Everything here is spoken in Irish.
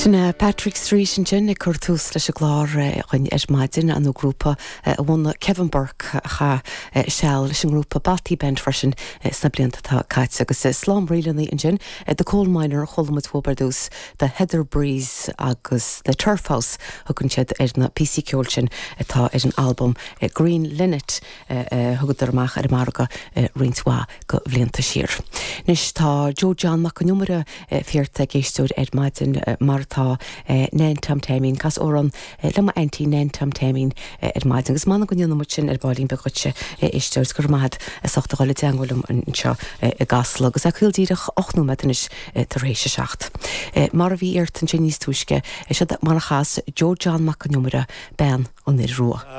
Sin é Patrick Street ansin ag cur tús leis an gclár againn ar maidin, an grúpa a bhunaigh Kevin Burke a chaith seal leis an ngrúpa Bothy Bend freisin sna blianta atá caite. Agus slám ríleanna ansin, The Coal Miner a chuala muid uathub ar dtús, The Heather Breeze agus The Turf House thugann siad ar na píosaí ceoil sin atá ar an albam Green Linnet a thugadar amach ar an margadh roinnt mhaith de bhlianta siar. Anois tá Joe John Mac an Iomaire iarrtha ag éisteoir ar maidin mar atá Nan Tom Taimín. Cas amhrán le m'aintín Nan Tom Taimín ar maidin agus m'anam go ndéanfaidh muid sin ar baillín beag dhuitse, a éisteoir, is go raibh maith agat as ucht a dhul i dteangmháil liom anseo i gCasla agus é caol díreach 8 nóiméad anois tar éis a 7. Mar a bhí iarrta ansin níos túisce, seo mar a chas Joe John Mac an Iomaire bean an fhir rua.